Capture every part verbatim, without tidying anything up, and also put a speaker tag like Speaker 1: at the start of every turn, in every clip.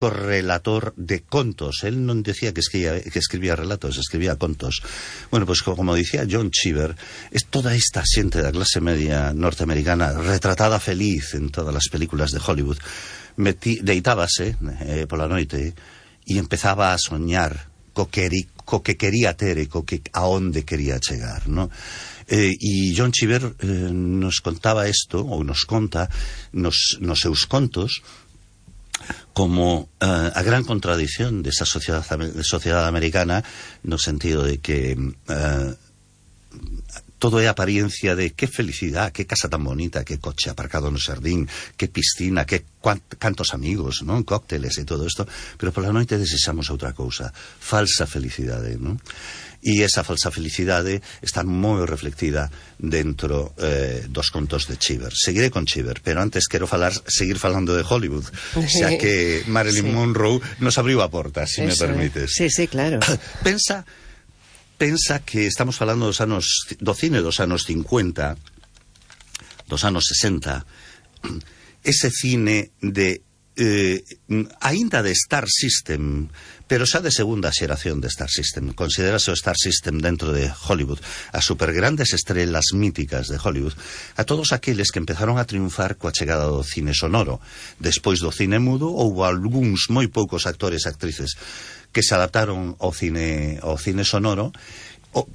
Speaker 1: relator de contos. Él no decía que escribía, que escribía relatos, escribía contos. Bueno, pues como decía John Cheever, es toda esta xente da clase media norteamericana retratada feliz en todas las películas de Hollywood. Metí, deitábase eh, pola noite e empezaba a soñar co que, co que quería ter e co que a onde quería chegar, ¿no? Eh, e John Cheever eh, nos contaba isto, ou nos conta nos, nos seus contos, como uh, a gran contradición desa sociedade, sociedade americana, no sentido de que uh, todo é apariencia de que felicidade, que casa tan bonita, que coche aparcado no xardín, que piscina, que cantos amigos, non? Cócteles e todo isto, pero pola noite desexamos outra cousa, falsa felicidade, non? E esa falsa felicidade está moi reflectida dentro eh, dos contos de Cheever. Seguiré con Cheever, pero antes quero falar, seguir falando de Hollywood, xa que Marilyn sí. Monroe nos abriu a porta, se si me permites.
Speaker 2: Sí, sí, claro.
Speaker 1: Pensa, pensa que estamos falando dos anos, do cine dos anos cincuenta, dos anos sesenta, ese cine de eh, aínda de Star System, pero xa de segunda xeración de Star System. Considérase o Star System dentro de Hollywood, as supergrandes estrelas míticas de Hollywood, a todos aqueles que empezaron a triunfar coa chegada do cine sonoro. Despois do cine mudo, houve algúns moi poucos actores e actrices que se adaptaron ao cine, ao cine sonoro,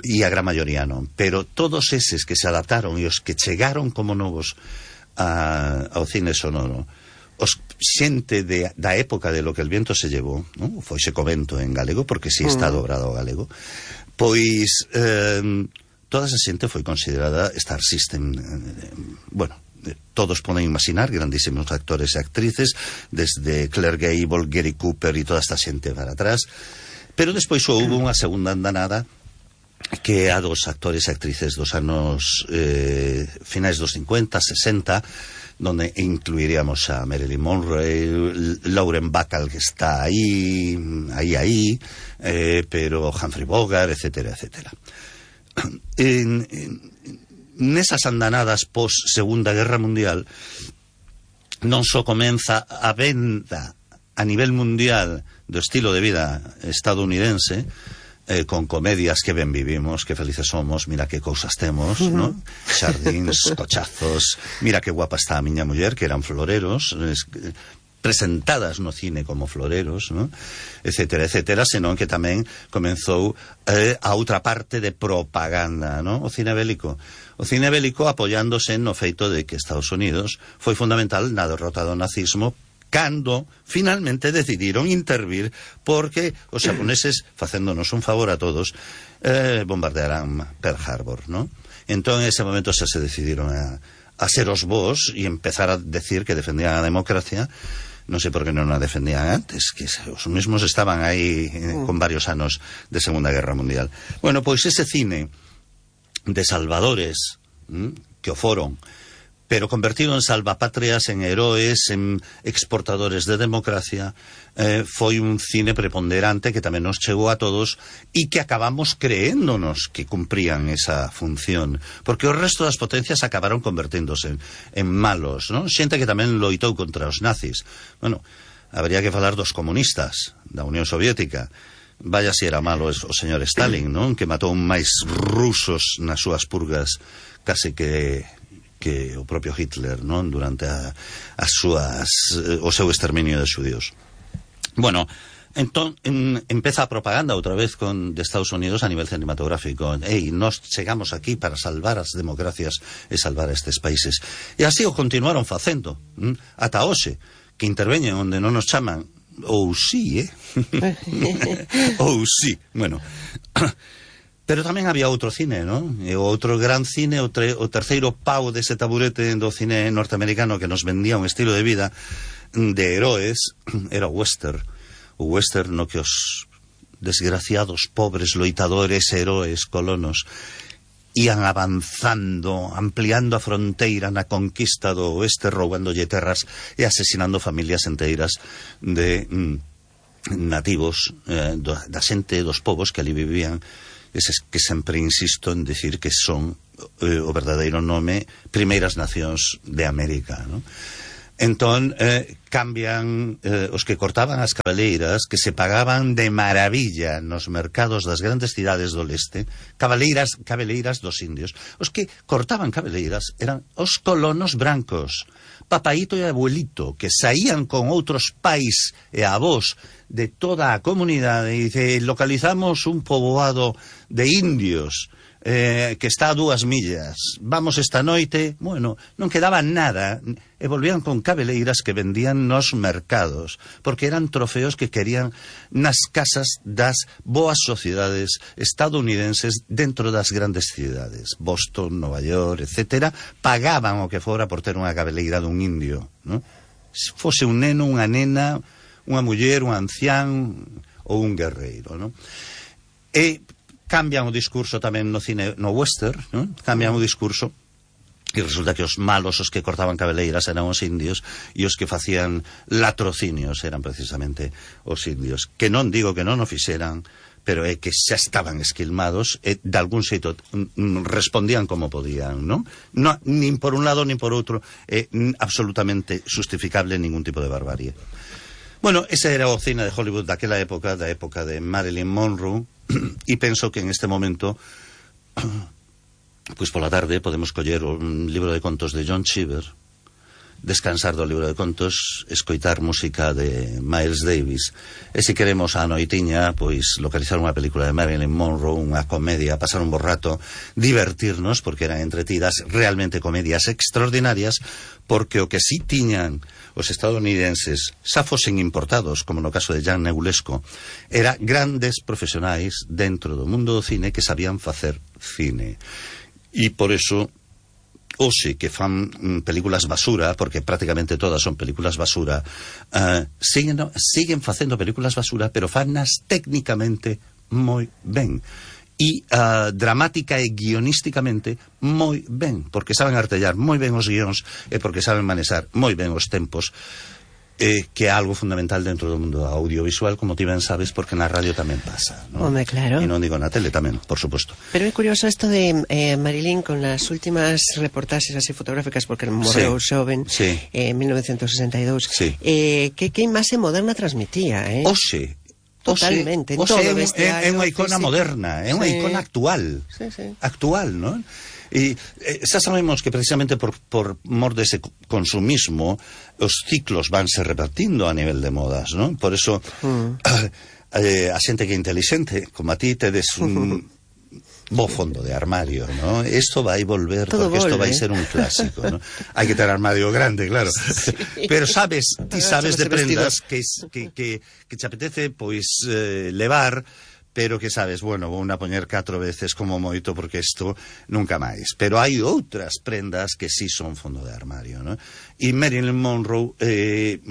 Speaker 1: e a gran maioría non. Pero todos eses que se adaptaron e os que chegaron como novos a, ao cine sonoro, os xente de, da época de Lo que el viento se llevou, non? Foise co vento en galego, porque si está dobrado ao galego, pois eh, toda esa xente foi considerada Star System. Eh, bueno, todos poden imaginar grandísimos actores e actrices, desde Claire Gable, Gary Cooper e toda esta xente para atrás, pero despois houve unha segunda andanada que a dos actores e actrices dos anos eh, finais dos cincuenta, sesenta, donde incluiríamos a Marilyn Monroe, Lauren Bacall, que está ahí, ahí, ahí, eh, pero Humphrey Bogart, etcétera, etcétera. En, en, nesas andanadas pos Segunda Guerra Mundial non só comeza a venda a nivel mundial do estilo de vida estadounidense, Eh, con comedias que ben vivimos, que felices somos, mira que cousas temos, uh-huh. ¿no? Xardíns, cochazos, mira que guapa está a miña muller, que eran floreros, es, presentadas no cine como floreros, ¿no? Etcétera, etcétera, senón que tamén comenzou eh, a outra parte de propaganda, ¿no? O cine bélico. O cine bélico apoiándose no feito de que Estados Unidos foi fundamental na derrota do nazismo, cando finalmente decidiron intervir, porque os xaponeses, facéndonos un favor a todos, eh, bombardearán Pearl Harbor, ¿no? Entón, en ese momento xa se decidiron a, a ser os vos e empezar a decir que defendían a democracia. Non sei por que non a defendían antes, que os mesmos estaban aí eh, con varios anos de Segunda Guerra Mundial. Bueno, pois ese cine de salvadores, ¿m? que o foron, pero convertido en salvapatrias, en heroes, en exportadores de democracia, eh, foi un cine preponderante que tamén nos chegou a todos e que acabamos creéndonos que cumprían esa función, porque o resto das potencias acabaron converténdose en, en malos, ¿no? Xente que tamén loitou contra os nazis. Bueno, habría que falar dos comunistas da Unión Soviética. Vaya si era malo o señor Stalin, ¿no? Que matou máis rusos nas súas purgas case que que o propio Hitler, non? Durante a, as súas, o seu exterminio de xudíos. Bueno, entón en, empeza a propaganda outra vez con de Estados Unidos a nivel cinematográfico. Ei, nos chegamos aquí para salvar as democracias e salvar estes países. E así o continuaron facendo, ¿m? Ata hoxe, que interveñen onde non nos chaman, ou sí, eh? ou sí, bueno... Pero tamén había outro cine, non? E o outro gran cine, o, tre, o terceiro pau dese taburete do cine norteamericano que nos vendía un estilo de vida de heroes, era o western. O western no que os desgraciados, pobres, loitadores, heroes, colonos ian avanzando, ampliando a fronteira na conquista do oeste, roubándolle terras e asesinando familias enteiras de mm, nativos, eh, do, da xente dos povos que ali vivían. Eses que sempre insisto en decir que son eh, o verdadeiro nome Primeiras Nacións de América, ¿no? Entón, eh, cambian eh, os que cortaban as cabeleiras, que se pagaban de maravilla nos mercados das grandes cidades do leste, cabeleiras, cabeleiras dos indios. Os que cortaban cabeleiras eran os colonos brancos, papaíto e abuelito, que saían con outros pais e avós de toda a comunidade e dice, localizamos un poboado de indios eh, que está a dúas millas, vamos esta noite. Bueno, non quedaba nada e volvían con cabeleiras que vendían nos mercados, porque eran trofeos que querían nas casas das boas sociedades estadounidenses dentro das grandes cidades, Boston, Nova York, etcétera. Pagaban o que fora por ter unha cabeleira dun indio, ¿no? Se fose un neno, unha nena, unha muller, un ancián ou un guerreiro, ¿no? E cambian o discurso tamén no cine, no western, ¿no? Cambian o discurso e resulta que os malos, os que cortaban cabeleiras eran os indios e os que facían latrocinios eran precisamente os indios, que non digo que non o fixeran, pero é que xa estaban esquilmados e de algún xeito respondían como podían, non? No, nin por un lado nin por outro é absolutamente justificable ningún tipo de barbarie. Bueno, ese era o cine de Hollywood daquela época, da época de Marilyn Monroe, e penso que en este momento, pois pola tarde podemos coller un libro de contos de John Cheever, descansar do libro de contos, escoitar música de Miles Davis, e se queremos a noitiña, pois localizar unha película de Marilyn Monroe, unha comedia, pasar un bo rato, divertirnos, porque eran entretidas, realmente comedias extraordinarias, porque o que sí tiñan os estadounidenses, xa fosen importados, como no caso de Jan Negulesco, era grandes profesionais dentro do mundo do cine que sabían facer cine. E por eso, hoxe que fan mm, películas basura, porque prácticamente todas son películas basura, uh, siguen, siguen facendo películas basura, pero fannas técnicamente moi ben. E uh, dramática e guionísticamente moi ben, porque saben artellar moi ben os guións e porque saben manexar moi ben os tempos, eh, que é algo fundamental dentro do mundo audiovisual, como ti ben sabes, porque na radio tamén pasa, ¿no?
Speaker 2: Home, claro.
Speaker 1: E non digo na tele tamén, por suposto.
Speaker 2: Pero é curioso isto de eh, Marilyn con las últimas reportaxes así fotográficas, porque morreu sí, xoven
Speaker 1: sí.
Speaker 2: eh, en mil novecientos sesenta e dous,
Speaker 1: sí.
Speaker 2: eh, que, que imaxe moderna transmitía, eh?
Speaker 1: Oxe,
Speaker 2: totalmente,
Speaker 1: o
Speaker 2: en todo
Speaker 1: é,
Speaker 2: vestiario,
Speaker 1: é unha icona
Speaker 2: físico.
Speaker 1: moderna, é unha sí. icona actual,
Speaker 2: sí, sí.
Speaker 1: actual, non? E eh, xa sabemos que precisamente por, por mor dese consumismo os ciclos vanse repartindo a nivel de modas, non? Por eso mm. eh, a xente que é inteligente, como a ti, tedes un bo fondo de armario, ¿no? Esto va a volver, todo porque volve. Esto va a ser un clásico, ¿no? Hay que tener armario grande, claro. Sí. Pero sabes, ti sabes de prendas que, que, que, que te apetece, pois, eh, levar, pero que sabes, bueno, vou a poñer catro veces como moito, porque isto nunca máis. Pero hai outras prendas que sí son fondo de armario, ¿no? E Marilyn Monroe, eh,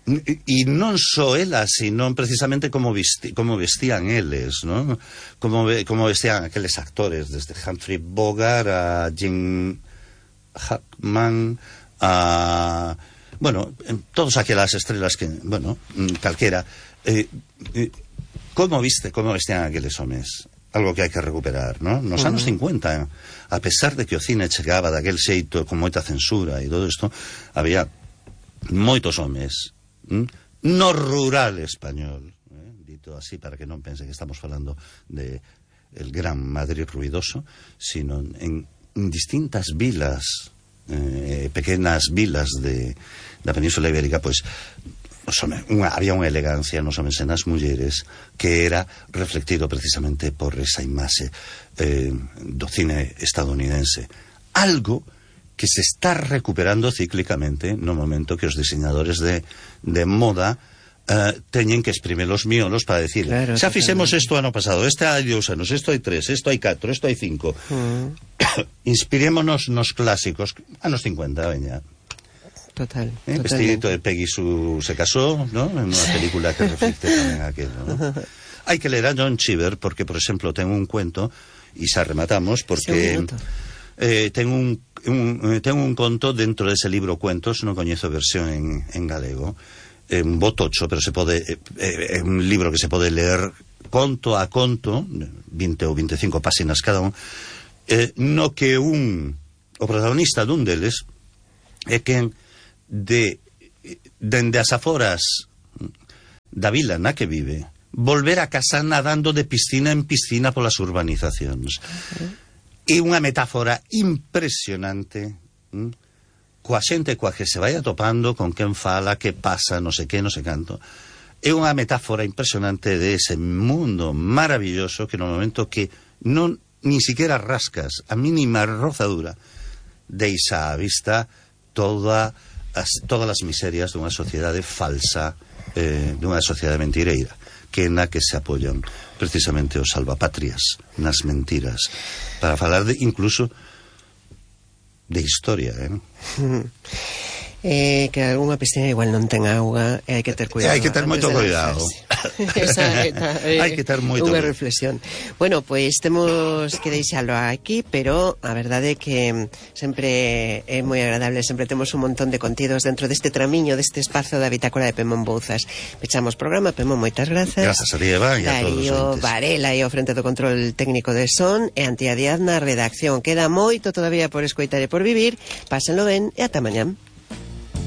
Speaker 1: e non só ela, sino precisamente como, vesti, como vestían eles, ¿no? Como, como vestían aqueles actores, desde Humphrey Bogart a Jim Hackman, a... bueno, todas aquelas estrelas que, bueno, calquera, eh, eh, como viste, como vestían aqueles homes, algo que hai que recuperar, ¿no? Nos uh-huh. anos cincuenta, a pesar de que o cine chegaba daquel xeito con moita censura e todo isto, había moitos homes no rural español, eh, dito así para que non pense que estamos falando de el gran Madrid ruidoso, sino en, en distintas vilas, eh, pequenas vilas de da Península Ibérica, pois unha, había unha elegancia nos homes e nas mulleres que era reflectido precisamente por esa imaxe eh, do cine estadounidense, algo que se está recuperando cíclicamente no momento que os diseñadores de, de moda uh, teñen que exprimir os miolos para decir, claro, xa fixemos isto ano pasado, este hai dous anos, isto hai tres, isto hai catro, isto hai cinco. Uh. Inspirémonos nos clásicos, anos cincuenta, veña.
Speaker 2: Total.
Speaker 1: Eh, vestidito de Peggy Sue se casó, ¿no? En unha película que reflecte tamén aquello, ¿no? Hai que ler a John Cheever porque, por exemplo, ten un cuento, e xa rematamos, porque... Eh, ten un, un, ten un conto dentro dese libro Cuentos, non coñezo a versión en, en galego, é un bo tocho, pero se pode, é, é un libro que se pode ler conto a conto, vinte ou veinticinco páxinas cada un, eh, no que un, o protagonista dun deles é quen de dende as aforas da vila na que vive volver a casa nadando de piscina en piscina polas urbanizacións. Uh-huh. É unha metáfora impresionante, hm? coa xente coa que se vai atopando, con quen fala, que pasa, non sei que, non sei canto. É unha metáfora impresionante de ese mundo maravilloso que no momento que non ni siquiera rascas a mínima rozadura deixa á vista toda as, todas as miserias dunha sociedade falsa, eh, dunha sociedade mentireira, que na que se apoian precisamente os salvapatrias nas mentiras, para falar de, incluso de historia, eh?
Speaker 2: Eh, que algunha piscina igual non ten auga e hai que ter cuidado.
Speaker 1: Hai que ter moito cuidado.
Speaker 2: Esa é,
Speaker 1: hai que ter moito
Speaker 2: unha reflexión. Bueno, pois temos que deixalo aquí, pero a verdade é que sempre é moi agradable, sempre temos un montón de contidos dentro deste tramiño, deste espazo da bitácora de Pemón Bouzas. Pechamos programa, Pemón, moitas grazas.
Speaker 1: Grazas a ti, Eva, e a todos os entes.
Speaker 2: Varela e ao frente do control técnico de son, e Antía Díaz na redacción. Queda moito todavía por escoitar e por vivir. Pásenlo ben e ata mañán.